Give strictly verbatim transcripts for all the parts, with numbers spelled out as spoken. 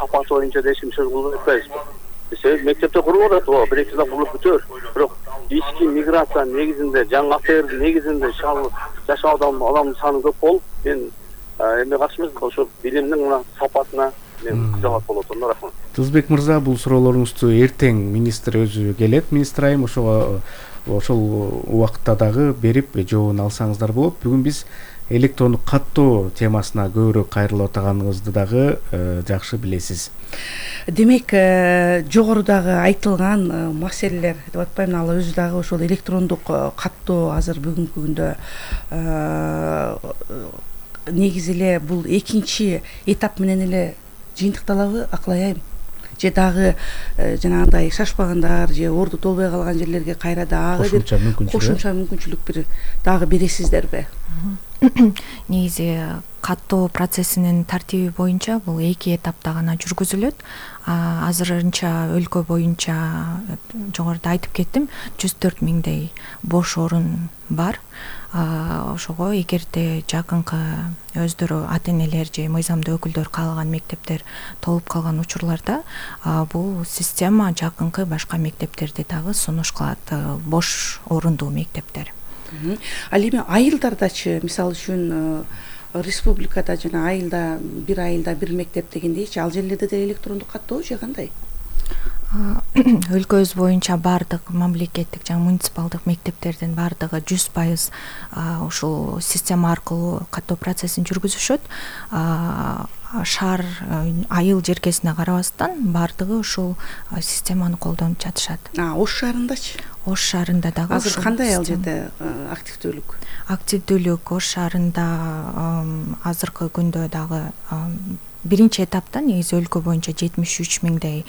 сапаты боюнча да эч ким сөз кылбай атпайбызбы? Себеби мектепте курулуп атат, ооба, бир эки жылда курулуп бүтөөр. Бирок ички миграциянын негизинде, жаңы АТРдин негизинде жашаудагы адамдын саны көп болуп, мен эме каршы эмесмин, ошо билимдин мына сапатына мен кызыгат болот да, рахмат. Тузбек мырза, бул суроолоруңузду эртең министр өзү келет, министр айым, ошого ошол убакытта дагы берип жообун алсаңыздар болот. Бүгүн биз электрондук каттоо темасына көбүрөөк кайрылып атаганыңызды дагы жакшы билесиз. Демек, жогорудагы айтылган маселелер деп атпаймын, ал өзү дагы ошол электрондук каттоо азыр бүгүнкү күндө негизи эле бул экинчи этап менен эле жыйынтыкталабы, акылай айым? Же дагы жанагындай шашпагандар же орду толбой калган жерлерге кайра дагы бир кошумча мүмкүнчүлүк бир дагы бересиздерби? Негизи каттоо процессинин тартиби боюнча бул эки этапта гана жүргүзүлөт. Азырынча өлкө боюнча жогоруда айтып кеттим, жүз төрт миңдей бош орун бар. Ошого эгерде жакынкы өздөрү ата-энелер же мыйзамдуу өкүлдөр каалаган мектептер толуп калган учурларда бул система жакынкы башка мектептерди дагы сунуш кылат, бош орундуу мектептер. Ал эми айылдардачы, мисалы үчүн республикада жана айылда бир айылда бир мектеп дегендейчи, ал жерлерде деле электрондук каттоо же кандай? Өлкөбүз боюнча баардык мамлекеттик жана муниципалдык мектептердин баардыгы жүз пайыз ушул система аркылуу каттоо процессин жүргүзүшөт. Шаар, айыл жеркесине карабастан баардыгы ушул системаны колдонуп жатышат. Ош шаарындачы? Ош шаарында дагы азыр кандай ал жерде активдүүлүк? Активдүүлүк Ош шаарында азыркы күндө дагы биринчи этапта негизи өлкө боюнча жетимиш үч миңдей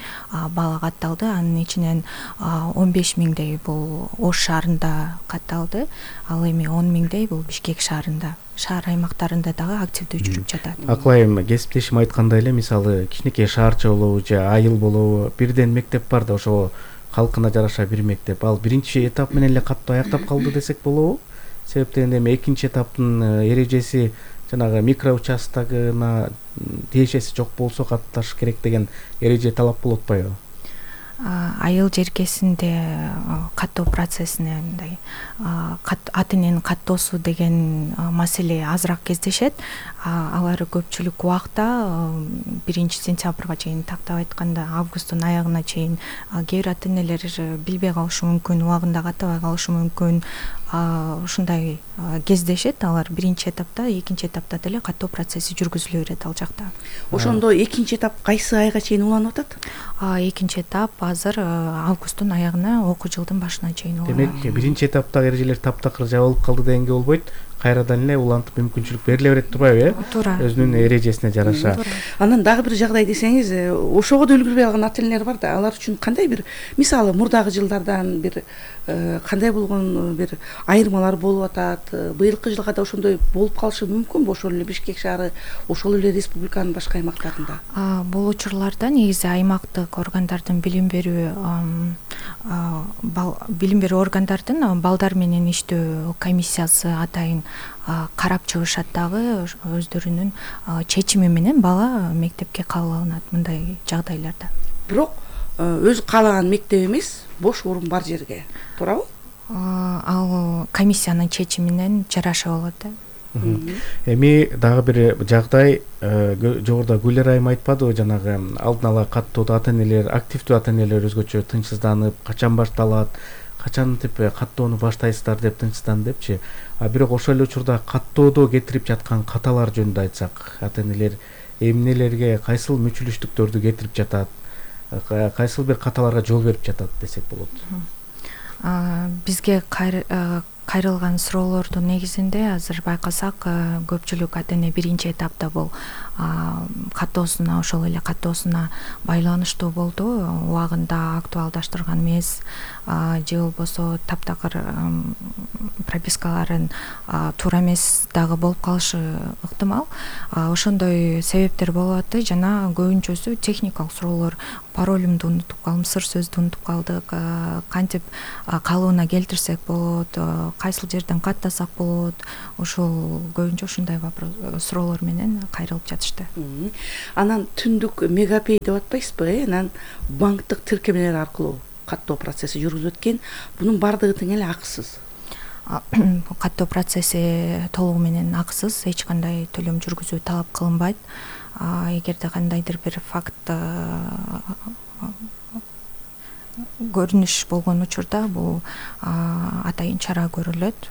бала катталды. Анын ичинен он беш миңдей бул Ош шаарында катталды. Ал эми он миңдей бул Бишкек шаарында. Шаар аймактарында дагы активдүү жүрүп жатат. Акылайым, кесиптешим айткандай эле, мисалы кичинекей шаарча болобу же айыл болобу, бирден мектеп бар да, ошого калкына жараша бир мектеп. Ал биринчи этап менен эле каттоо аяктап калды десек болобу? Себептен эми экинчи этаптын эрежеси жанагы микро участкына тиешеси жок болсо катташ керек деген эреже талап болуп атпайбы? Айыл жеркесинде каттоо процессине мындай ата-эненин каттоосу деген маселе азыраак кездешет. Алар көпчүлүк убакта биринчи сентябрга чейин, тактап айтканда августтун аягына чейин кээ бир ата-энелер билбей калышы мүмкүн, убагында каттабай калышы мүмкүн. Ушундай кездешет. Алар биринчи этапта, экинчи этапта деле каттоо процесси жүргүзүлө берет ал жакта. Ошондо экинчи этап кайсы айга чейин уланып атат? Экинчи этап азыр августтун аягына, окуу жылдын башына чейин уланат. Демек, биринчи этаптагы эрежелер таптакыр жабылып калды дегенге болбойт. Кайрадан эле улантып мүмкүнчүлүк бериле берет турбайбы, э? Туура. Өзүнүн эрежесине жараша. Анан дагы бир жагдай десеңиз, ошого да үлгүрбөй калган ата-энелер бар да. Алар үчүн кандай бир, мисалы, мурдагы жылдардан бир кандай болгон бир айырмалар болуп атат? Быйылкы жылга да ошондой болуп калышы мүмкүнбү? Ошол эле Бишкек шаары, ошол эле республиканын башка аймактарында? Бул учурларда негизи аймактык органдардын билим берүү билим берүү органдардын балдар менен иштөө комиссиясы атайын карап чыгышат дагы, өздөрүнүн чечими менен бала мектепке кабыл алынат мындай жагдайларда. Бирок өзү каалаган мектеп эмес, бош орун бар жерге, туурабы? Ал комиссиянын чечиминен жараша болот да. Эми дагы бир жагдай, жогоруда Гүлер айым айтпадыбы, жанагы алдын ала каттоодо ата-энелер, активдүү ата-энелер өзгөчө тынчсызданып, качан башталат, качан деп каттоону баштайсыздар деп тынчсызданып депчи. А бирок ошол эле учурда каттоодо кетирип жаткан каталар жөнүндө айтсак, ата-энелер эмнелерге, кайсыл мүчүлүштүктөрдү кетирип жатат, кайсыл бир каталарга жол берип жатат десек болот? Бизге кайрылган суроолордун негизинде азыр байкасак, көпчүлүк ата-эне биринчи этапта бул каттоосуна, ошол эле каттоосуна байланыштуу болду, убагында актуалдаштырган эмес, же болбосо таптакыр пропискаларын туура эмес дагы болуп калышы ыктымал. Ошондой себептер болуп атты жана көбүнчөсү техникалык суроолор. Паролумду унутуп калдым, сыр сөздү унутуп калдык, кантип калыбына келтирсек болот, кайсыл жерден каттасак болот. Ошол көбүнчө ушундай суроолор менен кайрылып жатышат. беришти. Анан түндүк мегапей деп атпайсызбы, э анан банктык тиркемелер аркылуу каттоо процесси жүргүзүлөт экен. Бунун баардыгы тең эле акысыз. Каттоо процесси толугу менен акысыз, эч кандай төлөм жүргүзүү талап кылынбайт. Эгерде кандайдыр бир факт көрүнүш болгон учурда бул атайын чара көрүлөт.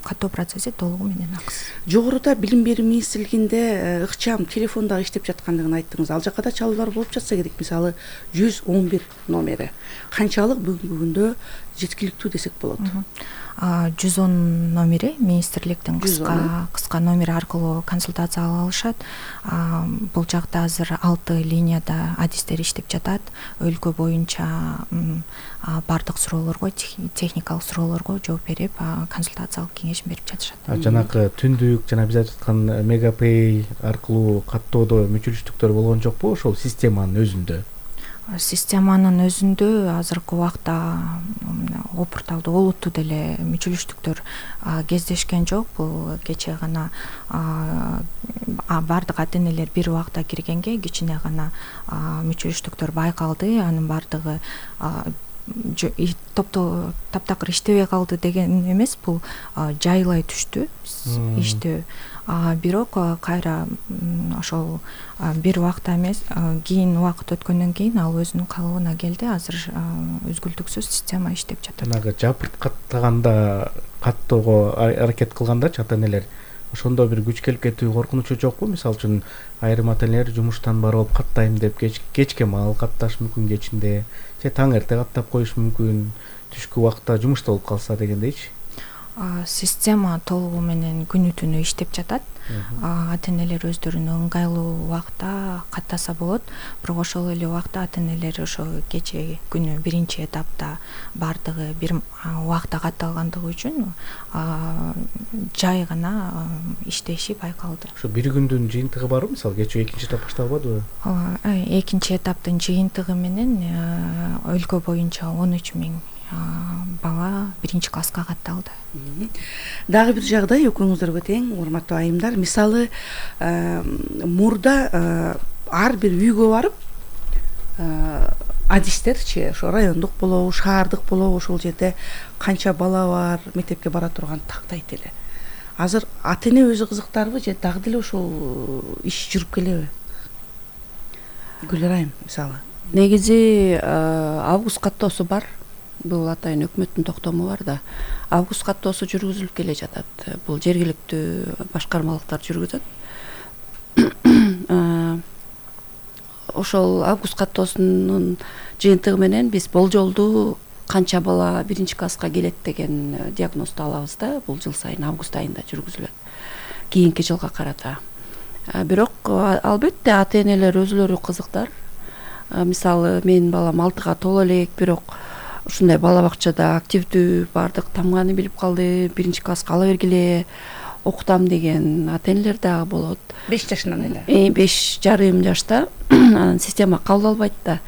Каттоо процесси толугу менен акысыз. Жогоруда билим берүү министрлигинде ыкчам телефондо иштеп жаткандыгын айттыңыз. Ал жакка да чалуулар болуп жатса керек, мисалы жүз он бир номери канчалык бүгүнкү күндө жеткиликтүү десек болот? жүз он номери министрликтин кыска кыска номери аркылуу консультация ала алышат. Бул жакта азыр алты линияда адистер иштеп жатат. Өлкө боюнча бардык суроолорго, техникалык суроолорго жооп берип, консультациялык кеңеш берип жатышат. Жанакы түндүк жана биз айтып аткан мегапей аркылуу каттоодо мүчүлүштүктөр болгон жокпу ошол системанын өзүндө? Системанын өзүндө азыркы убакта опурталдуу олуттуу деле мүчүлүштүктөр кездешкен жок. Бул кечээ гана бардык ата-энелер бир убакта киргенге кичине гана мүчүлүштүктөр байкалды. Анын бардыгы топтоо таптакыр иштебей калды деген эмес, бул жайлай түштү иштөө. Бирок кайра ошол бир убакта эмес, кийин убакыт өткөндөн кийин ал өзүнүн калыбына келди. Азыр үзгүлтүксүз система иштеп жатат. Жанагы жапырт каттаганда, каттоого аракет кылгандачы ата-энелер ошондо бир күч келип кетүү коркунучу жокпу? Мисалы үчүн айрым ата-энелер жумуштан барып каттайм деп кечке маал катташ мүмкүн, кечинде же таң эрте каттап коюш мүмкүн, түшкү убакта жумушта болуп калса дегендейчи. Система толугу менен күнү түнү иштеп жатат. Ата-энелер өздөрүнүн ыңгайлуу убакта каттаса болот. Бирок ошол эле убакта ата-энелер ошо кечээ күнү биринчи этапта бардыгы бир убакта катталгандыгы үчүн жай гана иштеши байкалды. Ошо бир күндүн жыйынтыгы барбы? Мисалы кечээ экинчи этап башталбадыбы? Экинчи этаптын жыйынтыгы менен өлкө боюнча он үч миң бала биринчи класска катталды. Дагы бир жагдай экөөңүздөргө тең, урматтуу айымдар. Мисалы, мурда ар бир үйгө барып адистерчи, ошо райондук болобу, шаардык болобу, ошол жерде канча бала бар, мектепке бара турган тактайт эле. Азыр ата-эне өзү кызыктарбы же дагы деле ошол иш жүрүп келеби? Гүлер айым, мисалы. Негизи август каттоосу бар. Бул атайын өкмөттүн токтому бар да. Август каттоосу жүргүзүлүп келе жатат. Бул жергиликтүү башкармалыктар жүргүзөт. Ошол август каттоосунун жыйынтыгы менен биз болжолдуу канча бала биринчи класска келет деген диагнозду алабыз да. Бул жыл сайын август айында жүргүзүлөт. Кийинки жылга карата. Бирок албетте ата-энелер өзүлөрү кызыктар. Мисалы, менин балам алтыга толо элек, бирок ушундай бала бакчада активдүү, бардык тамганы билип калды, биринчи класска ала бергиле, окутам деген ата-энелер дагы болот. беш жашынан эле. Э, беш жарым жашта анан система кабыл албайт да.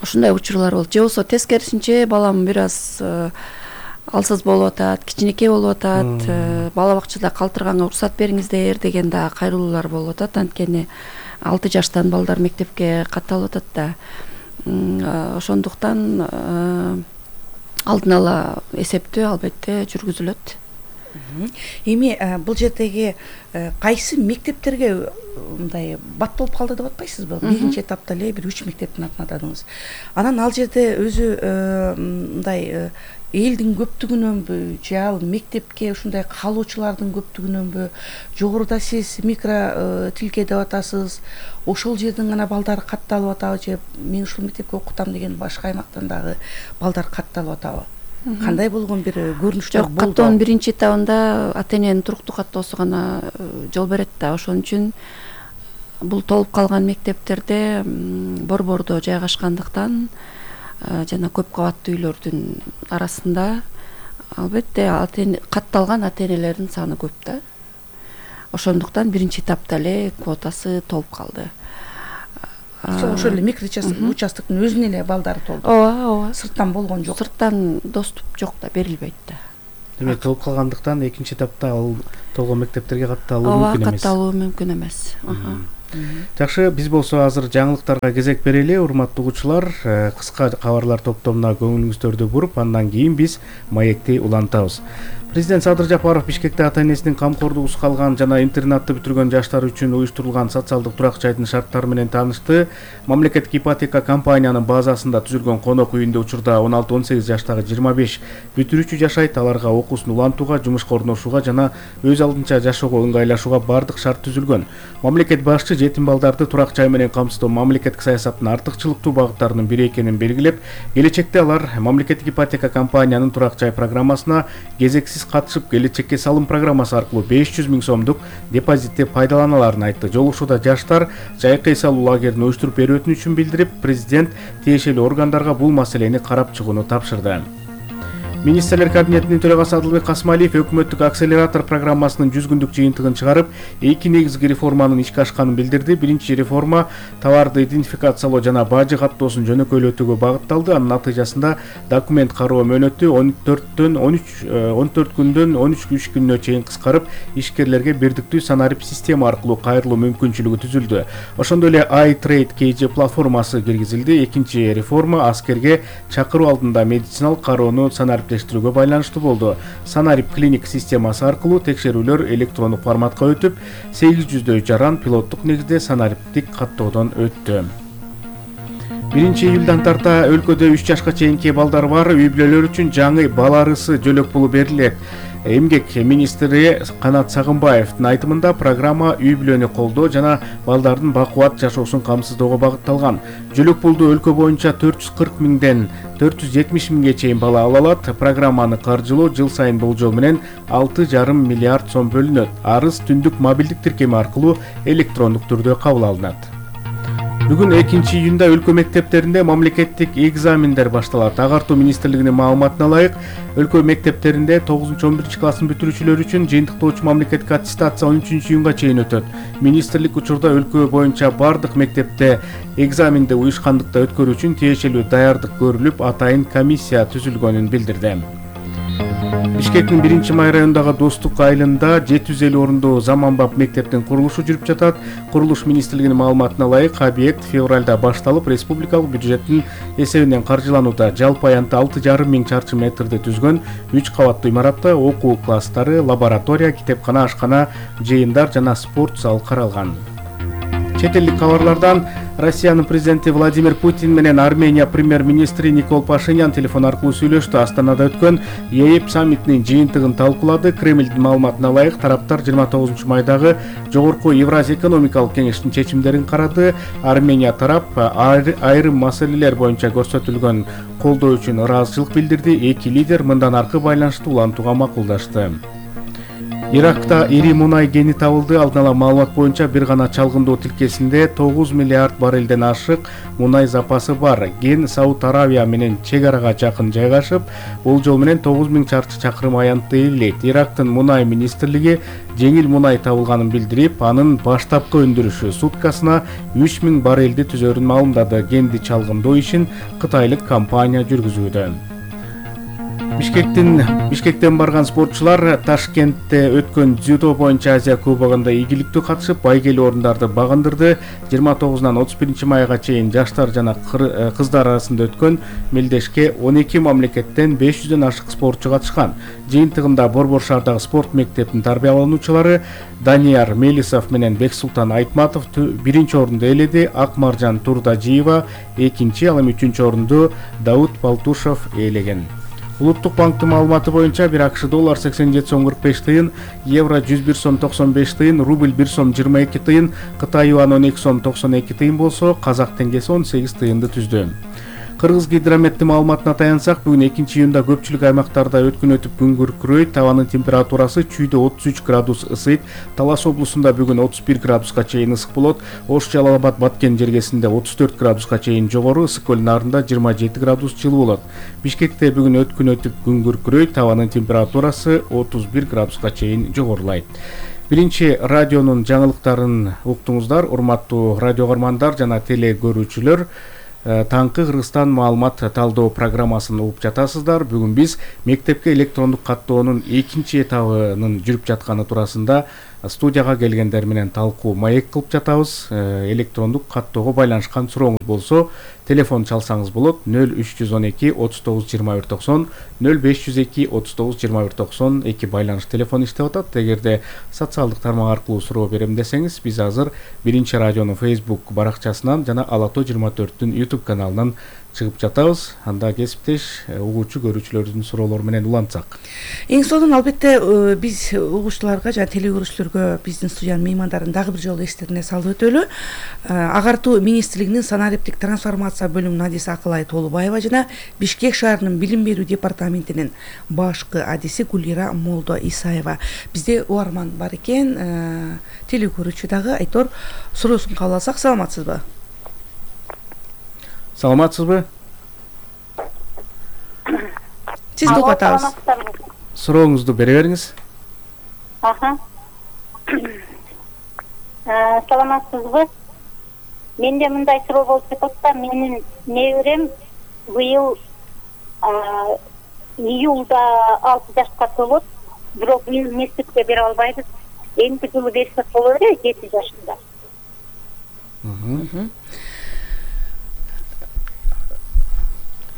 Ушундай учурлар болот. Же болбосо тескерисинче балам бир аз алсыз болуп атат, кичинекей болуп атат, бала бакчада калтырганга уруксат бериңиздер деген да кайрылуулар болуп атат. Анткени алты жаштан балдар мектепке катталып атат да. Ошондуктан алдын ала эсептөө албетте жүргүзүлөт. Эми бул жердеги кайсы мектептерге мындай бат болуп калды деп атпайсызбы? Биринчи этапта эле бир үч мектептин атын атадыңыз. Анан ал жерде өзү мындай элдин көптүгүнөнбү же ал мектепке ушундай каалоочулардын көптүгүнөнбү, жогоруда сиз микро тилке деп атасыз, ошол жердин гана балдары катталып атабы же мен ушул мектепке окутам деген башка аймактан дагы балдар катталып атабы? Кандай болгон бир көрүнүштөр болду? Каттоонун биринчи этабында ата-эненин туруктуу каттоосу гана жол берет да. Ошон үчүн бул толуп калган мектептерде борбордо жайгашкандыктан жана көп кабаттуу үйлөрдүн арасында албетте катталган ата-энелердин саны көп да. Ошондуктан биринчи этапта эле квотасы толуп калды. Ошол эле микроучастоктун өзүнө эле балдары толду. Ооба, ооба. Сырттан болгон жок. Сырттан доступ жок да, берилбейт да. демек толуп калгандыктан экинчи этапта ал толгой мектептерге катталуу ооба мүмкүн эмес. катталуу мүмкүн эмес. Жакшы, биз болсо азыр жаңылыктарга кезек берели. Урматтуу угуучулар, кыска кабарлар топтомуна көңүлүңүздөрдү буруп, андан кийин биз маекти улантабыз. Президент Садыр Жапаров Бишкекте ата-энесинин камкордугусуз калган жана интернатты бүтүргөн жаштар үчүн уюштурулган социалдык турак жайдын шарттары менен таанышты. Мамлекеттик ипотека компаниянын базасында түзүлгөн конок үйүндө учурда он алты он сегиз жаштагы жыйырма беш бүтүрүүчү жашайт. Аларга окуусун улантууга, жумушка орношууга жана өз алдынча жашоого ыңгайлашууга бардык шарт түзүлгөн. Мамлекет башчы жетим балдарды турак жай менен камсыздоо мамлекеттик саясаттын артыкчылыктуу багыттарынын бири экенин белгилеп, келечекте алар мамлекеттик ипотека компаниянын турак жай программасына кезексиз катышып, келечекке салым программасы аркылуу беш жүз миң сомдук депозитти пайдаланаларын айтты. Жолугушууда жаштар жайкы эс алуу лагерин уюштуруп берүү өтүнүчүн билдирип, президент тиешелүү органдарга бул маселени карап чыгууну тапшырды. Министрлер кабинетинин төрагасы Адылбек Касымалиев өкмөттүк акселератор программасынын жүз күндүк жыйынтыгын чыгарып, эки негизги реформанын ишке ашканын билдирди. Биринчи реформа товарды идентификациялоо жана бажы каттоосун жөнөкөйлөтүүгө багытталды. Анын натыйжасында документ кароо мөөнөтү он төрттөн он үч он төрт күндөн он үч иш күнүнө чейин кыскарып, ишкерлерге бирдиктүү санарип система аркылуу кайрылуу мүмкүнчүлүгү түзүлдү. Ошондой эле iTrade кей же платформасы киргизилди. Экинчи реформа аскерге чакыруу алдында медициналык кароону санарип байланыштуу болду. Санарип клиник системасы аркылуу текшерүүлөр электрондук форматка өтүп, сегиз жүздөй жаран пилоттук негизде санариптик каттоодон өттү. биринчи июлдан тарта өлкөдө үч жашка чейинки балдары бар үй-бүлөлөр үчүн жаңы бала арысы жөлөк пулу берилет. Эмгек министри Канат Сагынбаевдин айтымында программа үй-бүлөнү колдоо жана балдардын бакубат жашоосун камсыздоого багытталган. Жөлөк пулду өлкө боюнча төрт жүз кырк миңден төрт жүз жетимиш миңге чейин бала ала алат. Программаны каржылоо жыл сайын болжол менен алты жарым миллиард сом бөлүнөт. Арыз түндүк мобилдик тиркеми аркылуу электрондук түрдө кабыл алынат. Бүгүн экинчи июнда өлкө мектептеринде мамлекеттик экзамендер башталат. Агартуу министрлигинин маалыматына ылайык, өлкө мектептеринде тогузунчу он биринчи класстын бүтүрүүчүлөр үчүн жыйынтыктоочу мамлекеттик аттестация он үчүнчү июнга чейин өтөт. Министрлик учурда өлкө боюнча бардык мектепте экзаменди уюшкандыкта өткөрүү үчүн тиешелүү даярдык көрүлүп, атайын комиссия түзүлгөнүн билдирди. Бишкектин биринчи май районундагы Достук айылында жети жүз элүү орундуу заманбап мектептин курулушу жүрүп жатат. Курулуш министрлигинин маалыматына ылайык, объект февралда башталып, республикалык бюджеттин эсебинен каржыланууда. Жалпы аянты алты жарым миң чарчы метрди түзгөн үч кабаттуу имаратта окуу класстары, лаборатория, китепкана, ашкана, жыйындар жана спорт зал каралган. Чет элдик кабарлардан Россиянын президенти Владимир Путин менен Армения премьер-министри Никол Пашинян телефон аркылуу сүйлөштү. Астанада өткөн ЕЭП саммитинин жыйынтыгын талкуулады. Кремлдин маалыматына ылайык, тараптар жыйырма тогузунчу майдагы Жогорку Евразия экономикалык кеңештин чечимдерин карады. Армения тарап айрым маселелер боюнча көрсөтүлгөн колдоо үчүн ыраазычылык билдирди. Эки лидер мындан аркы байланышты улантууга макулдашты. Иракта ири мунай кени табылды. Алдын ала маалымат боюнча бир гана чалгындоо тилкесинде тогуз миллиард баррелден ашык мунай запасы бар. Кен Сауд Аравия менен чек арага жакын жайгашып, болжол менен тогуз миң чарчы чакырым аянтты ээлейт. Ирактын мунай министрлиги жеңил мунай табылганын билдирип, анын баштапкы өндүрүшү суткасына үч миң баррелди түзөрүн маалымдады. Кенди чалгындоо ишин кытайлык компания жүргүзүүдө. Бишкектин Бишкектен барган спортчулар Ташкентте өткөн дзюдо боюнча Азия кубогунда ийгиликтүү катышып, байгелүү орундарды багындырды. жыйырма тогузунан отуз биринчи майга чейин жаштар жана кыздар арасында өткөн мелдешке он эки мамлекеттен беш жүздөн ашык спортчу катышкан. Жыйынтыгында Борбор шаардагы спорт мектептин тарбиялануучулары Данияр Мелисов менен Бексултан Айтматов биринчи орунду ээледи. Акмаржан Турдажиева экинчи, ал эми үчүнчү орунду Дауд Палтушев ээлеген. Улуттук банктын маалыматы боюнча бир АКШ доллар сексен жети сом кырк беш тыйын, евро жүз бир сом токсон беш тыйын, рубль бир сом жыйырма эки тыйын, Кытай юаны он эки сом токсон эки тыйын болсо, казак теңгеси он сегиз тыйынды түздү. Кыргыз гидрометтин маалыматына таянсак, бүгүн экинчи июнда көпчүлүк аймактарда өткөн өтүп күн күркүрөйт. Табанын температурасы чүйдө отуз үч градус ысыйт. Талас облусунда бүгүн отуз бир градуска чейин ысык болот. Ош Жалал Абад Баткен жергесинде отуз төрт градуска чейин жогору, Ысык көл нарында жыйырма жети градус жылы болот. Бишкекте бүгүн өткөн өтүп күн күркүрөйт. Табанын температурасы отуз бир градуска чейин жогорулайт. Биринчи радионун жаңылыктарын уктуңуздар, урматтуу радио көрмандар жана теле көрүүчүлөр. таңкы Кыргызстан маалымат талдоо программасын угуп жатасыздар. Бүгүн биз мектепке электрондук каттоонун экинчи этабынын жүрүп жатканы туурасында студияга келгендер менен талкуу маек кылып жатабыз. Электрондук каттоого байланышкан сурооңуз болсо, телефон чалсаңыз болот. нөл үч жүз он эки отуз тогуз жыйырма бир токсон, нөл беш жүз эки отуз тогуз жыйырма бир токсон эки байланыш телефону иштеп атат. Эгерде социалдык тармак аркылуу суроо берем десеңиз, биз азыр Биринчи радионун Facebook баракчасынан жана Ала тоо жыйырма төрттүн YouTube каналынан чыгып жатабыз. Анда кесиптеш угуучу көрүүчүлөрдүн суроолору менен улантсак. Эң сонун албетте биз угуучуларга жана теле көрүүчүлөргө биздин студиянын меймандарын дагы бир жолу эстерине салып өтөлү. Агартуу министрлигинин санариптик трансформация бөлүмүнүн адиси Акылай Толубаева жана Бишкек шаарынын билим берүү департаментинин башкы адиси Гулира Молдо Исаева. Бизде угарман бар экен, теле көрүүчү дагы. Айтор, суроосун кабыл алсак, саламатсызбы? Саламатсызбы? Сизди угуп атабыз. Сурооңузду бере бериңиз. Аха. Саламатсызбы? Менде мындай суроо болуп жатат да, менин неберем быйыл июлда алты жашка толот, бирок быйыл мектепке бере албайбыз. Эмки жылы берсек болот эле, жети жашында.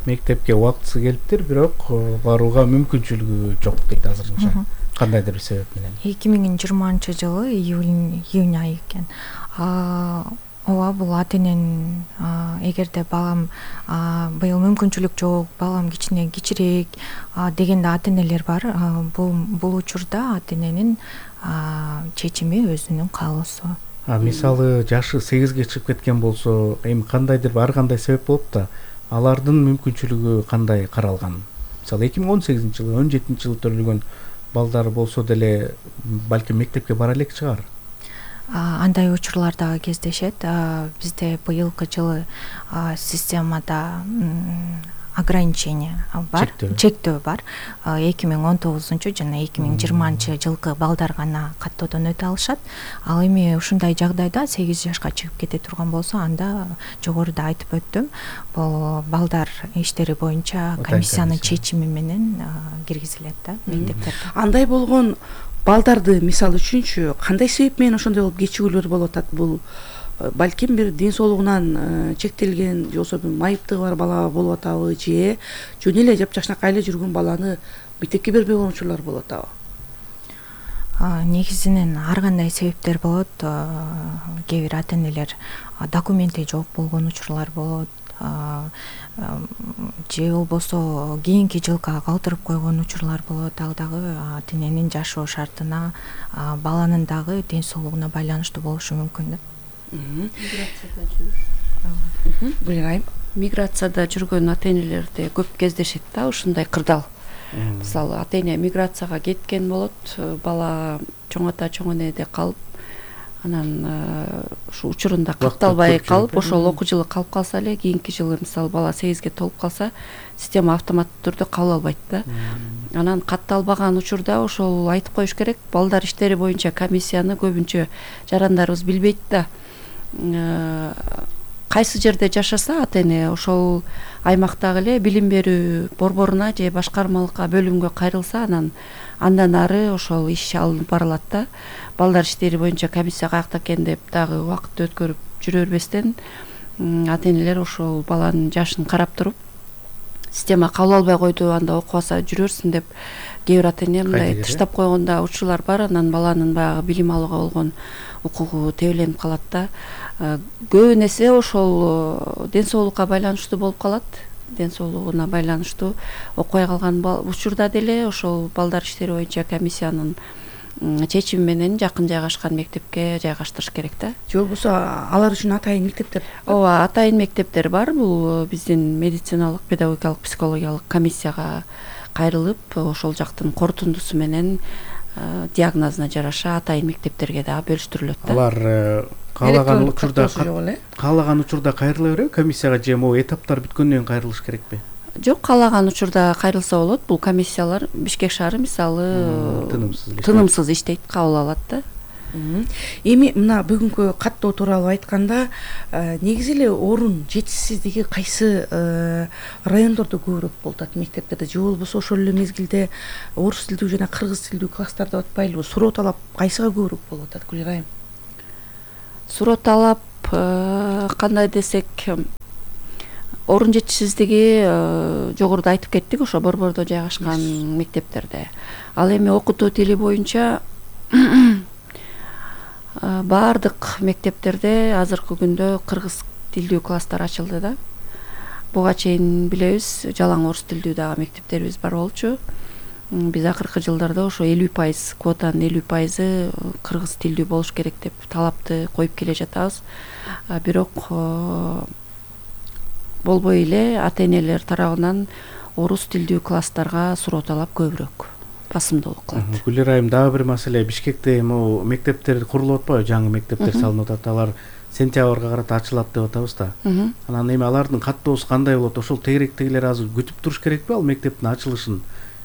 Мектепке убактысы келиптир, бирок барууга мүмкүнчүлүгү жок дейт азырынча. Кандайдыр бир себеп менен? эки миң жыйырманчы жылы июль июнь айы экен. Ооба, бул ата эненин, эгерде балам быйыл мүмкүнчүлүк жок, балам кичине кичирээк дегенде ата энелер бар. Бул бул учурда ата эненин чечими өзүнүн каалоосу. А мисалы жашы сегизге чыгып кеткен болсо, эми кандайдыр ар кандай себеп болуп да, алардын мүмкүнчүлүгү кандай каралган? Мисалы эки миң он сегизинчи жылы, он жетинчи жылы төрөлгөн балдар болсо деле балким мектепке бара элек чыгар. Андай учурлар дагы кездешет. Бизде быйылкы жылы системада ограничение бар, чектөө бар. эки миң он тогузунчу жана эки миң жыйырманчы жылкы балдар гана каттоодон өтө алышат. Ал эми ушундай жагдайда сегиз жашка чыгып кете турган болсо, анда жогоруда айтып өттүм, бул балдар иштери боюнча комиссиянын чечими менен киргизилет да мектептерге. Андай болгон балдарды мисалы үчүнчү кандай себеп менен ошондой болуп кечигүүлөр болуп атат? Бул балким бир ден соолугунан чектелген, же болбосо майыптыгы бар бала болуп атабы, же жөн эле жапжашнакай эле жүргөн баланы мектепке бербей койгон учурлар болуп атабы? Негизинен ар кандай себептер болот. Кээ бир ата энелер документи жок болгон учурлар болот, же болбосо кийинки жылга калтырып койгон учурлар болот. Ал дагы ата эненин жашоо шартына, баланын дагы ден соолугуна байланыштуу болушу мүмкүн да. Миграцияда жүргөн ата энелерде көп кездешет да ушундай кырдаал. Мисалы ата эне миграцияга кеткен болот, бала чоң ата чоң энеде калып, анан ушу учурунда катталбай калып, ошол окуу жылы калып калса эле, кийинки жылы мисалы бала сегизге толуп калса, система автоматтуу түрдө кабыл албайт да. Анан катталбаган учурда ошол айтып коюш керек, балдар иштери боюнча комиссияны көбүнчө жарандарыбыз билбейт да. Кайсы жерде жашаса ата эне, ошол аймактагы эле билим берүү борборуна же башкармалыкка, бөлүмгө кайрылса, анан андан ары ошол иш алынып барылат да. Балдар иштери боюнча комиссия каякта экен деп дагы убакыт өткөрүп жүрө бербестен, ата энелер ошол баланын жашын карап туруп, система кабыл албай койду, анда окубаса жүрөрсүң деп кээ бир ата эне мындай тыштап койгон да учурлар бар. Анан баланын баягы билим алууга болгон укугу тебеленип калат да. Көп нерсе ошол ден соолукка байланыштуу болуп калат. Ден соолугуна байланыштуу окубай калган учурда деле ошол балдар иштери боюнча комиссиянын чечими менен жакын жайгашкан мектепке жайгаштырыш керек да. Же болбосо алар үчүн атайын мектептер? Ооба, атайын мектептер бар. Бул биздин медициналык, педагогикалык, психологиялык комиссияга кайрылып, ошол жактын корутундусу менен диагнозуна жараша атайын мектептерге дагы бөлүштүрүлөт да. Алар каалаган учурда каалаган учурда кайрыла береби комиссияга, же могу этаптар бүткөндөн кийин кайрылыш керекпи? Жок, каалаган учурда кайрылса болот. Бул комиссиялар Бишкек шаары мисалы тынымсыз иштейт, кабыл алат да. Эми мына бүгүнкү каттоо тууралуу айтканда, негизи эле орун жетишсиздиги кайсы райондордо көбүрөөк болуп атат мектептерде, же болбосо ошол эле мезгилде орус тилдүү жана кыргыз тилдүү класстар деп атпайлыбы? Суроо талап кайсыга көбүрөөк болуп атат, Гүлира айым? Суроо талап кандай десек, орун жетишсиздиги жогоруда айтып кеттик, ошо борбордо жайгашкан мектептерде. Ал эми окутуу тили боюнча баардык мектептерде азыркы күндө кыргыз тилдүү класстар ачылды да. Буга чейин билебиз, жалаң орус тилдүү дагы мектептерибиз бар болчу. Биз акыркы жылдарда ошо элүү пайыз, квотанын элүү пайызы кыргыз тилдүү болуш керек деп талапты коюп келе жатабыз. Бирок болбой эле ата-энелер тарабынан орус тилдүү класстарга суроо талап көбүрөөк басымдуулук кылат. Гүлира айым, дагы бир маселе, Бишкекте могу мектептер курулуп атпайбы, жаңы мектептер салынып атат, алар сентябрга карата ачылат деп атабыз да. Анан эми алардын каттоосу кандай болот? Ошол тегеректегилер азыр күтүп туруш керекпи ал мектептин ачылышын?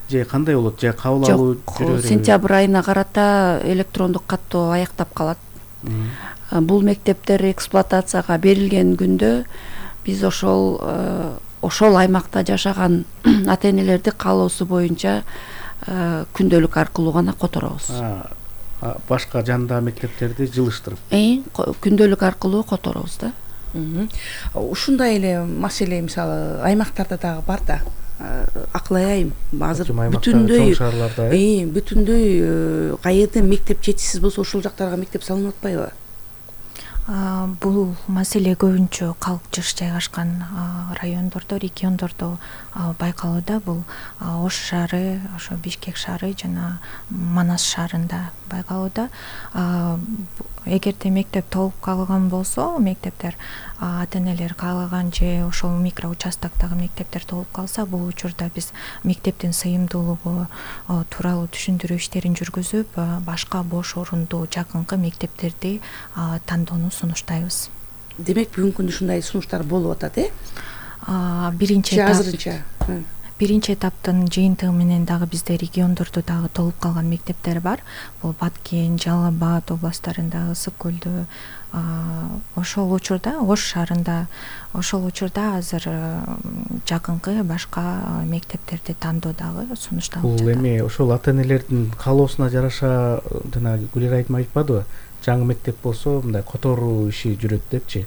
Же кандай болот? Же кабыл алуу жүрө береби? Сентябрь айына карата электрондук каттоо аяктап калат. Бул мектептер эксплуатацияга берилген күндө биз ошол ошол аймакта жашаган ата-энелерди каалоосу боюнча күндөлүк аркылуу гана которобуз. Башка жандагы мектептерди жылыштырып. Күндөлүк аркылуу которобуз да. Ушундай эле маселе мисалы аймактарда дагы бар да. Аклай айым, азыр бүтүндөй бүтүндөй каерде мектеп жетишсиз болсо ошол жактарга мектеп салынып атпайбы? Бул маселе көбүнчө калк жыш жайгашкан райондордо, региондордо байкалууда. Бул Ош шаары, ошо Бишкек шаары жана Манас шаарында байкалууда. Эгерде мектеп толуп калган болсо, мектептер ата-энелер каалаган же ошол микро участоктогу мектептер толуп калса, бул учурда биз мектептин сыйымдуулугу тууралуу түшүндүрүү иштерин жүргүзүп, башка бош орундуу жакынкы мектептерди тандоону сунуштайбыз. Демек бүгүнкү күндө ушундай сунуштар болуп атат, э? Биринчи этап азырынча. Биринчи этаптын жыйынтыгы менен дагы бизде региондордо дагы толуп калган мектептер бар. Бул Баткен, Жалал Абад областтарында, Ысык көлдө, ошол учурда Ош шаарында, ошол учурда азыр жакынкы башка мектептерди тандоо дагы сунушталып жатат. Бул эми ошол ата-энелердин каалоосуна жараша, жана Гүлира айым айтпадыбы? Жаңы мектеп болсо мындай которуу иши жүрөт депчи.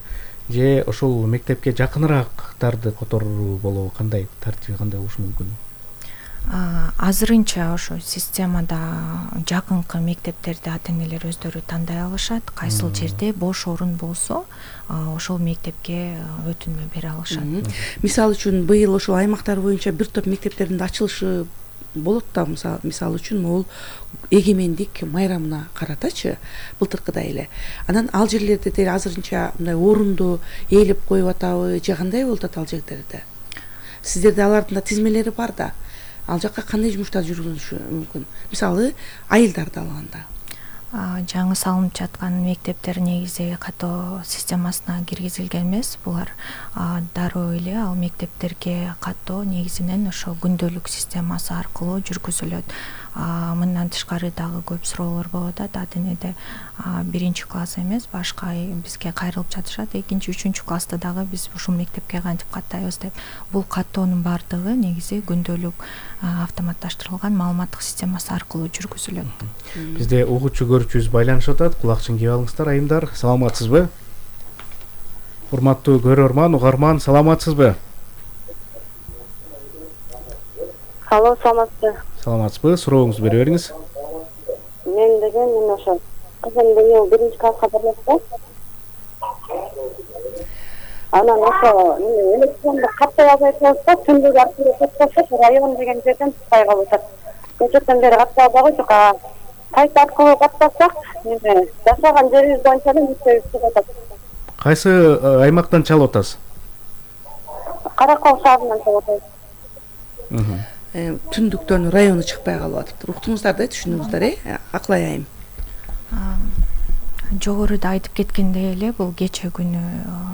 Же ошол мектепке жакыныраактарды которуу болобу? Кандай тартиби кандай болушу мүмкүн? Азырынча ошо системада жакынкы мектептерди ата-энелер өздөрү тандай алышат. Кайсыл жерде бош орун болсо, ошол мектепке өтүнмө бере алышат. Мисалы үчүн быйыл ошол аймактар боюнча бир топ мектептердин акчылышы болот да, мисалы үчүн могул эгемендик майрамына каратачы, былтыркыдай эле. Анан ал жерлерде деле азырынча мындай орунду ээлеп коюп атабы, же кандай болуп атат ал жерлерде? Сиздерде алардын да тизмелери бар да. Ал жакка кандай жумуштар жүргүзүлүшү мүмкүн? Мисалы, айылдарды алганда. Жаңы салынып жаткан мектептер негизи каттоо системасына киргизилген эмес. Булар дароо эле ал мектептерге каттоо негизинен ошо күндөлүк системасы аркылуу жүргүзүлөт. Мындан тышкары дагы көп суроолор болуп атат. Ата-энеде биринчи класс эмес, башка бизге кайрылып жатышат. Экинчи, үчүнчү класста дагы биз ушул мектепке кантип каттайбыз деп. Бул каттоонун баардыгы негизи күндөлүк автоматташтырылган маалыматтык системасы аркылуу жүргүзүлөт. Бизде угуучу көрүүчүбүз байланышып атат. Кулакчын кийип алыңыздар, айымдар. Саламатсызбы? Урматтуу көрөрман, угарман, саламатсызбы? Алло, саламатсызбы? Саламатсызбы? Сурооңузду бере бериңиз. Мен деген мен ошо кызым быйыл биринчи класска барат. Анан ошо электрондук каттоо албай калса, түндүк аркылуу каттасак, район деген жерден тукпай калып атат. Көчөттөн бери каттоо албай койчук. Сайт аркылуу каттасак, эми жашаган жерибиз боюнча эле мектебибиз чыгып атат. Кайсы аймактан чалып атасыз? Каракол шаарынан чалып атабыз. Түндүктөн району чыкпай калып атыптыр. Уктуңуздар да, түшүндүңүздөр, э? Аклай айым. Жогоруда айтып кеткендей эле, бул кече күнү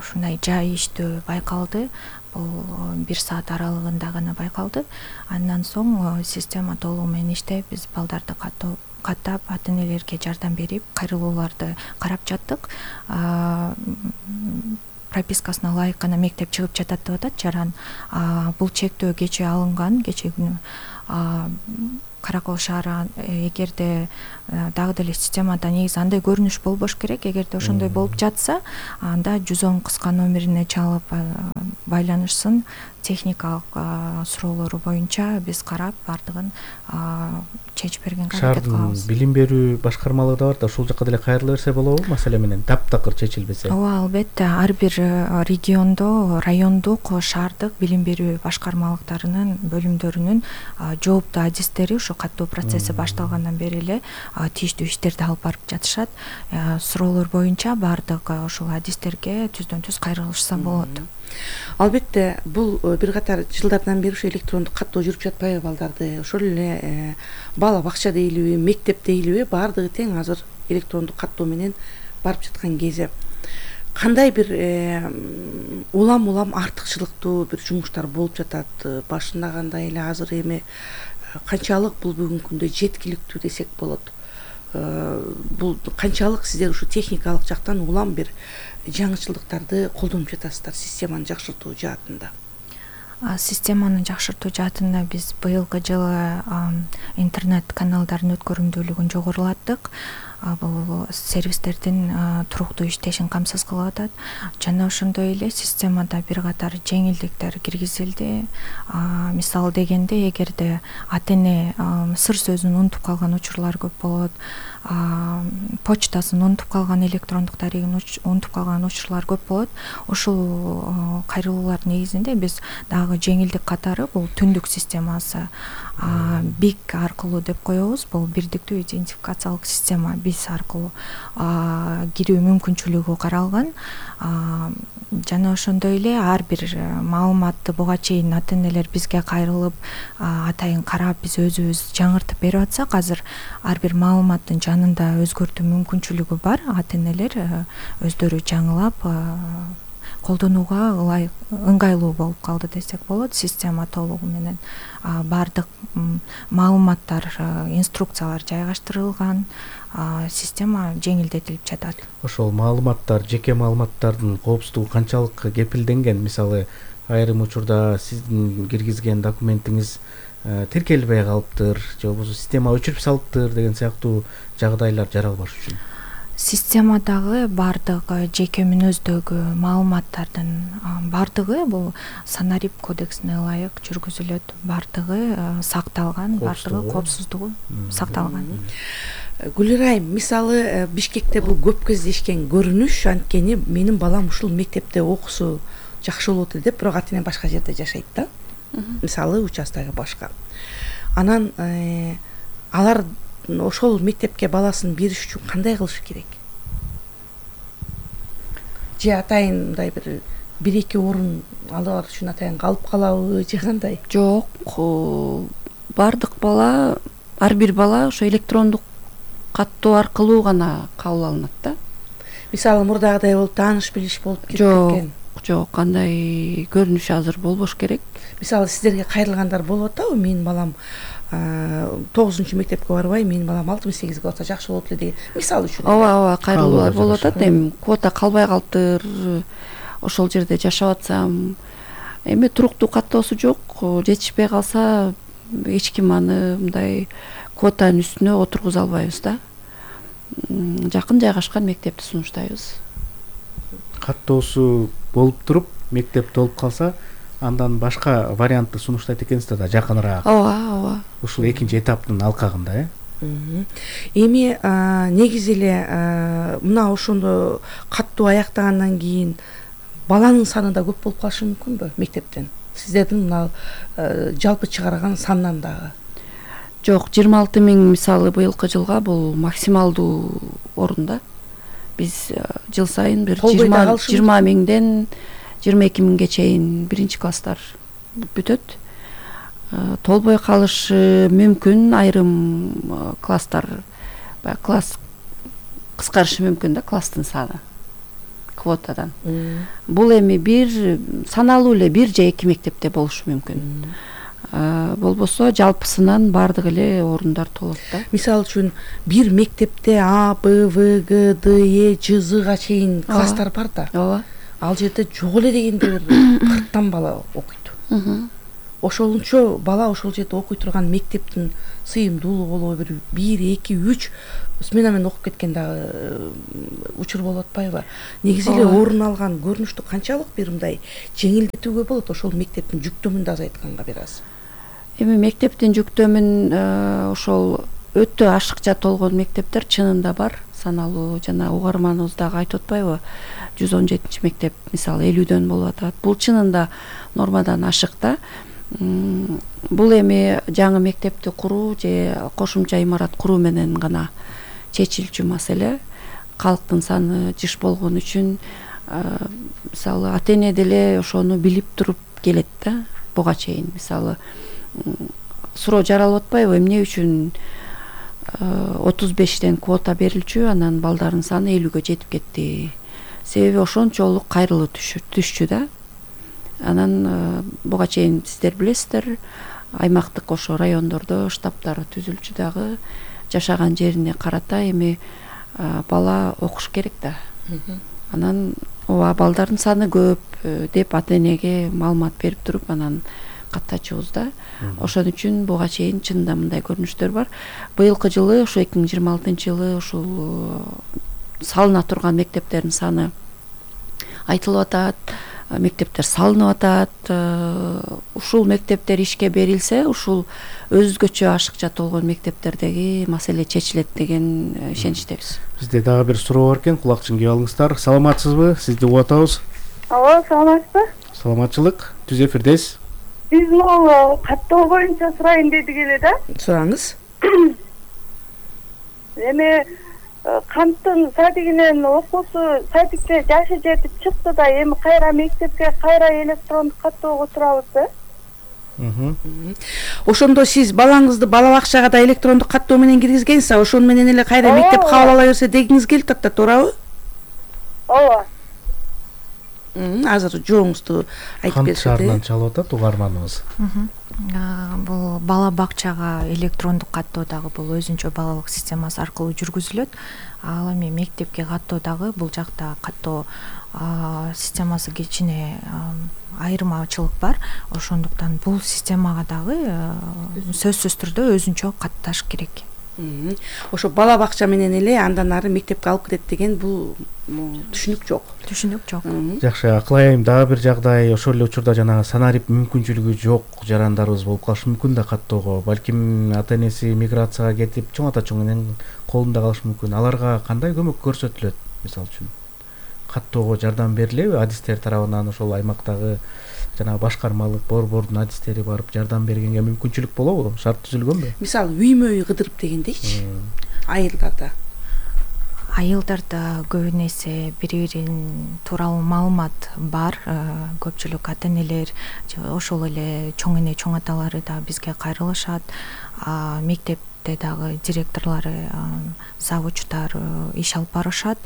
ушундай жай иштөө байкалды. Бул бир саат аралыгында гана байкалды. Андан соң система толугу менен иштеп, биз балдарды каттоо каттап ата энелерге жардам берип кайрылууларды карап жаттык. Пропискасына ылайык гана мектеп чыгып жатат деп атат Жаран. Бул чектөө кечээ алынган, кечээ күнү Каракол шаары эгерде дагы деле системада негизи андай көрүнүш болбош керек. Эгерде ошондой болуп жатса, анда жүз он кыска номерине чалып байланышсын. Техникалык суроолору боюнча биз карап бардыгын чечип берген аракет кылабыз. Шаардын билим берүү башкармалыгы да бар да, ошол жака деле кайрыла берсе болобу маселе менен таптакыр чечилбесе? Ооба, албетте. Ар бир региондо, райондук, шаардык билим берүү башкармалыктарынын бөлүмдөрүнүн жооптуу адистери ошо каттоо процесси башталгандан бери эле тийиштүү иштерди алып барып жатышат. Суроолор боюнча бардык ошол адистерге түздөн түз кайрылышса болот. Албетте, бул бир катар жылдардан бери ошо электрондук каттоо жүрүп жатпайбы балдарды? Ошол эле бала бакча дейлиби, мектеп дейлиби, баардыгы тең азыр электрондук каттоо менен барып жаткан кезде кандай бир улам-улам артыкчылыктуу бир жумуштар болуп жатат? Башында кандай эле, азыр эми канчалык бул бүгүнкү күндө жеткиликтүү десек болот? Бул канчалык сиздер ушу техникалык жактан улам бир жаңычылдыктарды колдонуп жатасыздар системаны жакшыртуу жаатында? Системаны жакшыртуу жаатында биз быйылкы жылы интернет каналдардын өткөрүмдүүлүгүн жогорулаттык. Бул сервистердин туруктуу иштешин камсыз кылып атат. Жана ошондой эле системада бир катар жеңилдиктер киргизилди. Мисалы дегенде, эгерде ата эне сыр сөзүн унутуп калган учурлар көп болот, почтасын унутуп калган, электрондук дарегин унутуп калган учурлар көп болот. Ушул кайрылуулар негизинде биз дагы жеңилдик катары бул түндүк системасы бик аркылуу деп коебуз. Бул бирдиктүү идентификациялык система биз аркылуу кирүү мүмкүнчүлүгү каралган. Жана ошондой эле ар бир маалыматты буга чейин ата энелер бизге кайрылып атайын карап биз өзүбүз жаңыртып берип атсак, азыр ар бир маалыматтын жанында өзгөртүү мүмкүнчүлүгү бар. Ата энелер өздөрү жаңылап колдонууга ылайык, ыңгайлуу болуп калды десек болот. Система толугу менен бардык маалыматтар, инструкциялар жайгаштырылган, система жеңилдетилип жатат. Ошол маалыматтар, жеке маалыматтардын коопсуздугу канчалык кепилденген? Мисалы, айрым учурда сиздин киргизген документиңиз тиркелбей калыптыр, же болбосо система өчүрүп салыптыр деген сыяктуу жагдайлар жаралбаш үчүн. Системадагы бардык жеке мүнөздөгү маалыматтардын бардыгы бул Санарип кодексине ылайык жүргүзүлөт. Бардыгы сакталган, бардыгы коопсуздугу сакталган. Гүлирайым, мисалы Бишкекте бул көп кездешкен көрүнүш, анткени менин балам ушул мектепте окусу жакшы болот деп, бирок ата эне башка жерде жашайт да. Мисалы участогу башка. Анан алар ошол мектепке баласын бериш үчүн кандай кылыш керек? Же атайын мындай бир бир эки орун алар үчүн атайын калып калабы, же кандай? Жок, бардык бала, ар бир бала ошо электрондук каттоо аркылуу гана кабыл алынат да. Мисалы мурдагыдай болуп тааныш билиш болуп кеткен. Жок, жок, кандай көрүнүш азыр болбош керек. Мисалы сиздерге кайрылгандар болуп атабы? Менин балам тогузунчу мектепке барбай, менин балам алтымыш сегизге барса жакшы болот эле деген мисалы үчүн. Ооба, ооба, кайрылуулар болуп атат. Эми квота калбай калыптыр, ошол жерде жашап атсам, эми туруктуу каттоосу жок, жетишпей калса эч ким аны мындай квотанын үстүнө отургуза албайбыз да. Жакын жайгашкан мектепти сунуштайбыз. Каттоосу болуп туруп, мектеп толуп калса, андан башка вариантты сунуштайт экенсиздер да, жакыныраак. Ооба, ооба. Ушул экинчи этаптын алкагында, э? Эми негизи эле мына ошондо каттоо аяктагандан кийин баланын саны да көп болуп калышы мүмкүнбү мектептен? Сиздердин мына жалпы чыгарган сандан дагы? Жок, жыйырма алты миң мисалы быйылкы жылга бул максималдуу орунда. Биз жыл сайын бир жыйырма миңден жыйырма эки миңге чейин биринчи класстар бүтөт. Толбой калышы мүмкүн, айрым класстар, класс кыскарышы мүмкүн да, класстын саны квотадан. Бул эми бир саналуу эле бир же эки мектепте болушу мүмкүн. болбосо жалпысынан баардык эле орундар толот да. Мисалы үчүн бир мектепте А, Б, В, Г, Д, Е, Ж, Зга чейин класстар бар да. Ооба. Ал жерде жок эле дегенде бир кырктан бала окуйт. Ошолунчо бала ошол жерде окуй турган мектептин сыйымдуулугу болобу, бир бир эки үч смена менен окуп кеткен дагы учур болуп атпайбы? Негизи эле орун алган көрүнүштү канчалык бир мындай жеңилдетүүгө болот ошол мектептин жүктөмүн да азайтканга бир аз? Эми мектептин жүктөмүн ошол өтө ашыкча толгон мектептер чынында бар. Саналуу жана угарманыбыз дагы айтып атпайбы? жүз он жетинчи мектеп мисалы элүүдөн болуп атат. Бул чынында нормадан ашык да. Бул эми жаңы мектепти куруу же кошумча имарат куруу менен гана чечилчү маселе. Калктын саны жыш болгон үчүн мисалы ата эне деле ошону билип туруп келет да буга чейин. Мисалы суроо жаралып атпайбы, эмне үчүн отуз бештен квота берилчү, анан балдардын саны элүүгө жетип кетти. Себеби ошончолук кайрылуу түшчү да. Анан буга чейин сиздер билесиздер, аймактык ошо райондордо штабтар түзүлчү дагы. Жашаган жерине карата эми бала окуш керек да. Анан ооба балдардын саны көп деп ата энеге маалымат берип туруп анан каттачубуз да. Ошон үчүн буга чейин чынында мындай көрүнүштөр бар. Быйылкы жылы ошо эки миң жыйырма алтынчы жылы ушул салына турган мектептердин саны айтылып атат. Мектептер салынып атат. Ушул мектептер ишке берилсе, ушул өзгөчө ашыкча толгон мектептердеги маселе чечилет деген ишеничтебиз. Бизде дагы бир суроо бар экен, кулакчын кийип алыңыздар. Саламатсызбы? Сизди угуп атабыз. Ооба, саламатсызбы? Саламатчылык. Түз эфирдесиз. Биз могу каттоо боюнча сурайын дедик эле да. Сураңыз. Эми канттын садигинен окуусу садикке жашы жетип чыкты да, эми кайра мектепке кайра электрондук каттоого турабыз да. Ошондо сиз балаңызды бала бакчага да электрондук каттоо менен киргизгенсиз, ошону менен эле кайра мектеп кабыл ала берсе дегиңиз келип атат, туурабы? Ооба. Азыр жооңузду айтып берсеңиз. Кант шаарынан чалып атат угарманыбыз. Бул бала бакчага электрондук каттоо дагы бул өзүнчө балалык системасы аркылуу жүргүзүлөт. Ал эми мектепке каттоо дагы бул жакта каттоо системасы кичине айырмачылык бар. Ошондуктан бул системага дагы сөзсүз түрдө өзүнчө катташ керек. Ошо бала бакча менен эле андан ары мектепке алып кетет деген бул түшүнүк жок. Түшүнүк жок. Жакшы, акылайым дагы бир жагдай, ошол эле учурда жанагы санарип мүмкүнчүлүгү жок жарандарыбыз болуп калышы мүмкүн да каттоого. Балким ата энеси миграцияга кетип, чоң ата чоң эненин колунда калышы мүмкүн. Аларга кандай көмөк көрсөтүлөт, мисалы үчүн? Каттоого жардам берилеби адистер тарабынан? Ошол аймактагы жанагы башкармалык борбордун адистери барып жардам бергенге мүмкүнчүлүк болобу? Шарт түзүлгөнбү? Мисалы үймө үй кыдырып дегендейчи. Айылдарда. Айылдарда көбүн эсе бири-бирин тууралуу маалымат бар. Көпчүлүк ата энелер, ошол эле чоң эне, чоң аталары да бизге кайрылышат. Мектепте дагы директорлору, завучтар иш алып барышат.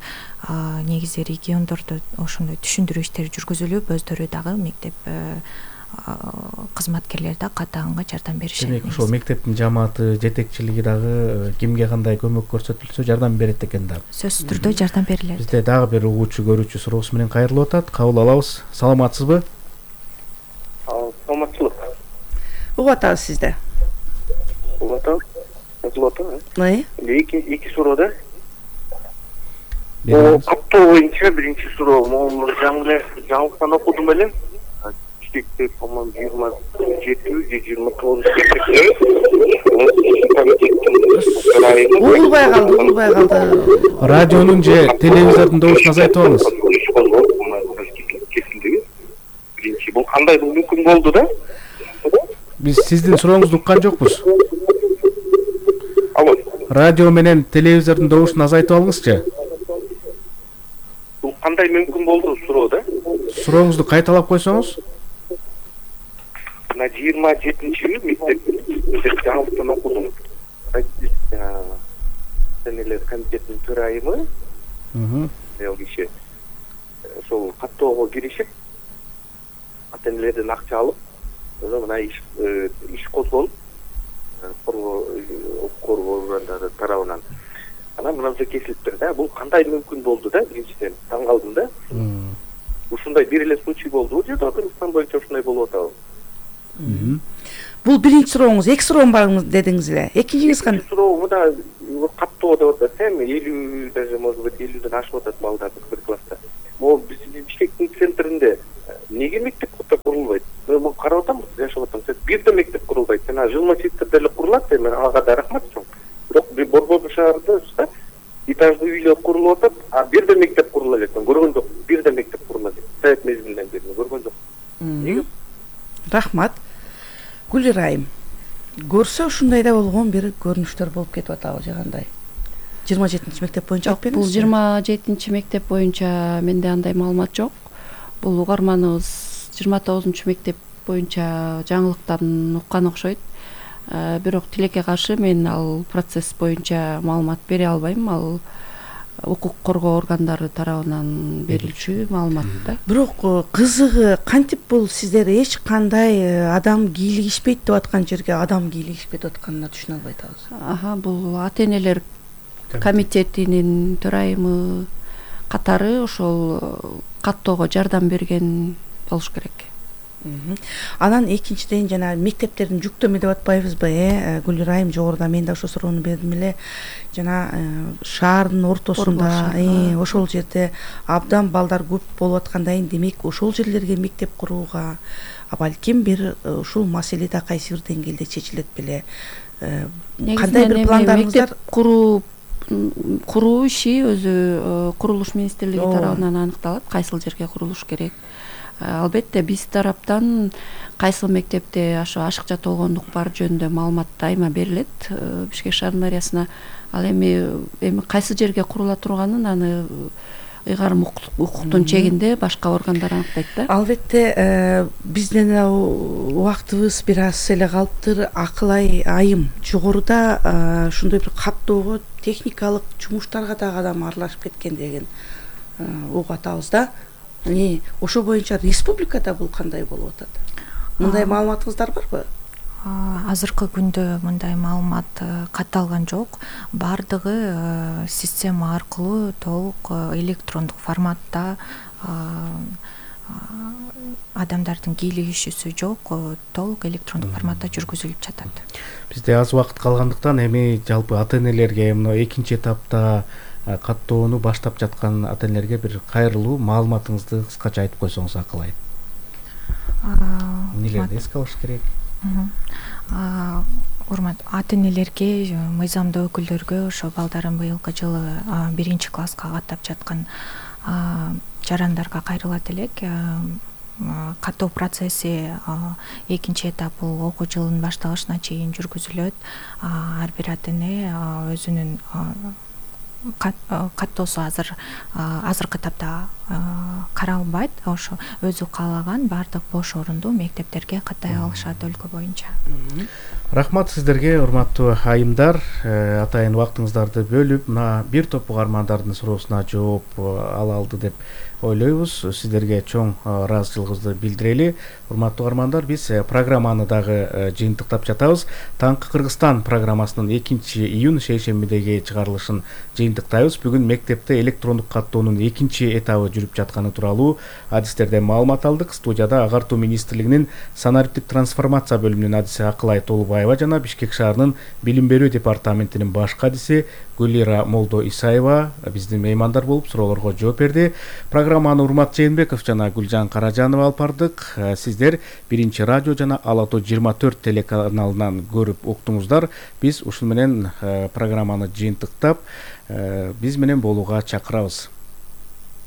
Негизи региондордо ошондой түшүндүрүү иштери жүргүзүлүп, өздөрү дагы мектеп кызматкерлери да каттаганга жардам беришет. Демек ошол мектептин жамааты, жетекчилиги дагы кимге кандай көмөк көрсөтүлсө жардам берет экен да. Сөзсүз түрдө жардам берилет. Бизде дагы бир угуучу көрүүчү суроосу менен кайрылып атат. Кабыл алабыз. Саламатсызбы? Саламатчылык. Угуп атабыз сизди. Угуп атабыз. Угуп атабыз. Ай? Эки эки суроо да. О, каттоо боюнча биринчи суроо, могу жаңы жаңылыктан окудум эле. Мектеп по-моему жыйырма жети же жыйырма тогуз угулбай калды, угулбай калды. Радионун же телевизордун добушун азайтып алыңыз. Биринчи бул кандай мүмкүн болду да? Биз сиздин сурооңузду уккан жокпуз. Алло. Радио менен телевизордун добушун азайтып алыңызчы. Бул кандай мүмкүн болду суроо да? Сурооңузду кайталап койсоңуз. На жыйырма жетинчи мектеп жаңылыктан окудум. Сенелер комитетинин төрайымы, аял киши, ошол каттоого киришип, ата энелерден акча алып, мына иш иш козголуп коргоо коргоо органдары тарабынан анан мынанча кесилиптир да. Бул кандай мүмкүн болду да? Биринчиден таң калдым да. Ушундай бир эле случай болду же Кыргызстан боюнча ушундай болуп атабы? Бул биринчи сурооңуз. Эки суроо бар дедиңиз эле. Экинчиңиз кандай? Экинчи суроо да каттоо деп атат. Эми элүү даже может быть элүүдөн ашып атат балдар бир класста. Могу биздин Бишкектин центринде неге мектеп курулбайт? Мен карап атам, жашап атам. Бир да мектеп курулбайт. Жана жилмачевде деле курулат, эми ага да рахмат чоң. Бирок Борбор шаарында этаждуу үйлөр курулуп атат, а бир да мектеп курулат элек. Мен көргөн жок. Бир да мектеп курулат. Совет мезгилинен бери көргөн жок. Неге? Рахмат. Гүлира айым, көрсө ушундай да болгон бир көрүнүштөр болуп кетип атабы же кандай? жыйырма жетинчи мектеп боюнча айтып бериңизчи. Бул жыйырма жетинчи мектеп боюнча менде андай маалымат жок. Бул угарманыбыз жыйырма тогузунчу мектеп боюнча жаңылыктан уккан окшойт. Бирок тилекке каршы мен ал процесс боюнча маалымат бере албайм. Ал укук коргоо органдары тарабынан берилчү маалымат да. Бирок кызыгы кантип бул сиздер эч кандай адам кийлигишпейт деп аткан жерге адам кийлигишип кетип атканына түшүнө албай атабыз. Аха, бул ата-энелер комитетинин төрайымы катары ошол каттоого жардам берген болуш керек. Анан экинчиден жана мектептердин жүктөмө деп атпайбызбы, э Гүлира айым жогоруда мен да ошо суроону бердим эле. Жана шаардын ортосунда, э ошол жерде абдан балдар көп болуп аткандан демек ошол жерлерге мектеп курууга, а балким бир ушул маселе да кайсы бир деңгээлде чечилет беле. Кандай бир пландарыңыздар? Мектеп куруу куруу иши өзү курулуш министрлиги тарабынан аныкталат, кайсыл жерге курулуш керек. Албетте биз тараптан кайсыл мектепте ошо ашыкча толгондук бар жөнүндө маалымат дайыма берилет Бишкек шаарынын мэриясына. Ал эми эми кайсы жерге курула турганын аны ыйгарым укуктун чегинде башка органдар аныктайт да. Албетте биздин убактыбыз бир аз эле калыптыр. Акылай айым жогоруда ушундай бир каттоого техникалык жумуштарга дагы адам аралашып кеткен деген угуп атабыз да. Э ошо боюнча республикада бул кандай болуп атат? Мындай маалыматыңыздар барбы? Азыркы күндө мындай маалымат катталган жок. Бардыгы система аркылуу толук электрондук форматта адамдардын кийлигишүүсү жок, толук электрондук форматта жүргүзүлүп жатат. Бизде аз убакыт калгандыктан эми жалпы ата-энелерге мына экинчи этапта каттоону баштап жаткан ата-энелерге бир кайрылуу маалыматыңызды кыскача айтып койсоңуз Акылай. Эмнелерди эске алыш керек? Урмат ата-энелерге, мыйзамдуу өкүлдөргө ошо балдарын быйылкы жылы биринчи класска каттап жаткан жарандарга кайрылат элек. Каттоо процесси экинчи этап бул окуу жылынын башталышына чейин жүргүзүлөт. Ар бир ата-эне өзүнүн каттоосу азыр азыркы этапта каралбайт. Ошо өзү каалаган баардык бош орунду мектептерге каттай алышат өлкө боюнча. Рахмат сиздерге, урматтуу айымдар. Атайын убактыңыздарды бөлүп, мына бир топ угармандардын суроосуна жооп ала алды деп ойлойбуз. Сиздерге чоң ыраазычылыгыбызды билдирели. Урматтуу угармандар, биз программаны дагы жыйынтыктап жатабыз. Таңкы Кыргызстан программасынын экинчи июнь шейшембидеги чыгарылышын жыйынтыктайбыз. Бүгүн мектепте электрондук каттоонун экинчи этабы жүрүп жатканы тууралуу адистерден маалымат алдык. Студияда Агартуу министрлигинин санариптик трансформация бөлүмүнүн адиси Акылай Толубаева жана Бишкек шаарынын билим берүү департаментинин башкы адиси Гүлира Молдо Исаева биздин меймандар болуп суроолорго жооп берди. Программаны Урмат Жээнбеков жана Гүлжан Каражанова алып бардык. Сиздер биринчи радио жана Ала-Тоо жыйырма төрт телеканалынан көрүп уктуңуздар. Биз ушул менен программаны жыйынтыктап биз менен болууга чакырабыз.